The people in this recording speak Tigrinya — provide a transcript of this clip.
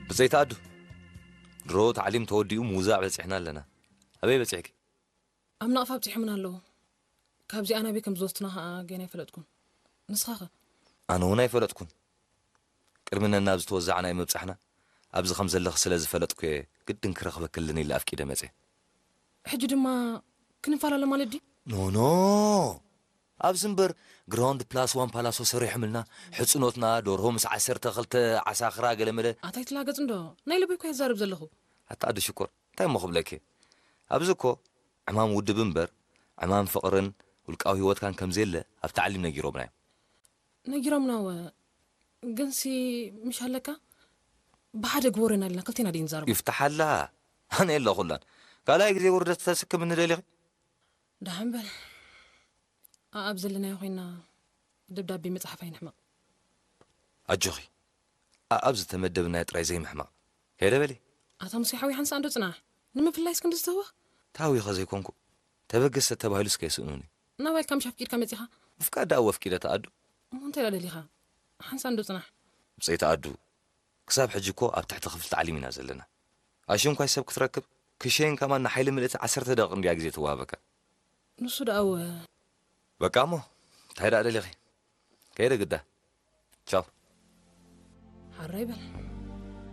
ብጸይታ ኣዱ፣ ድሮ ታዕሊም ተወዲኡ ምውዛዕ በጺሕና ኣለና። ኣበይ በጺሕኪ? ኣብ ናቕፋ ኣብጺሖምና ኣለዉ። ካብዚኣ ናበይ ከም ዝወስዱና ኸኣ ገና ኣይፈለጥኩን። ንስኻ ኸ? ኣነ እውን ኣይፈለጥኩን። ቅድሚ ነናብ ዝተወዛዕና ምብጻሕና ኣብዚ ከም ዘለኺ ስለ ዝፈለጥኩ እየ ግድን ክረኽበክልን ኢለ ኣፍቂደ መጽየ። ሕጂ ድማ ክንፈላለ ማለት ድዩ? ኖኖ፣ ኣብዚ እምበር ግራውንድ ፕላስ ዋን ፓላሶ ሰሪሖምልና፣ ሕጽኖትና፣ ደርሆ ምስ ዓሰርተ ክልተ ዓሳኽራ ገለመለ። ኣታይ ትላገጽ እንዶ? ናይ ልበይ እኮ የዛርብ ዘለኹ። ኣታ ኣዱ ሽኮር፣ እንታይ እሞ ክብለኪ? ኣብዚ እኮ ዕማም ውድብ እምበር ዕማም ፍቕርን ውልቃዊ ህይወትካን ከም ዘየለ ኣብ ታዕሊም ነጊሮምና እዮም። ነጊሮምና ወ ግንሲ ምሽ ኣለካ? ብሓደ ግበሮ ኢና ኢልና ክልቴና ድዩ ንዛረቡ? ይፍትሓላ። ኣነ የለኹላን። ካልኣይ ግዜ ውርደት ተስክምኒ ደሊኺ? ደሓን በል። ኣኣብ ዘለናዮ ኮይና ደብዳቤ መጽሓፍ ኣይንሕመቕ። ኣጆኺ፣ ኣኣብ ዝተመደብናዮ ጥራይ ዘይምሕማቕ። ከይደ በሊ። ኣታ ሙሴ ሓወይ፣ ሓንሳእ እንዶ ጽናሕ። ንምፍላይስ ክንዲ ዝተህወኽ? ታዊኸ ዘይኮንኩ፣ ተበገሰ ተባሂሉስ ከየስእኑኒ። ናባይ ኢልካ ምሽ ኣፍቂድካ መጺኻ? ምፍቃድ ደኣ ወፍቂደ ተኣዱ። እሞ እንታይ ደኣ ደሊኻ? ሓንሳእ እንዶ ጽናሕ። ብጸይቲ ኣዱ፣ ክሳብ ሕጂ እኮ ኣብ ትሕቲ ክፍሊ ታዕሊም ኢና ዘለና። ኣሽንኳይ ሰብ ክትረክብ ክሸይን ከማን ንሓይሊ ምልእቲ ዓሰርተ ደቂቕ እንድያ ግዜ ትወሃበካ። ንሱ ደኣ እወ። በቃ እሞ እንታይ ደኣ ደሊኺ? ከይደ ግዳ። ቻው። ሓራይ በል።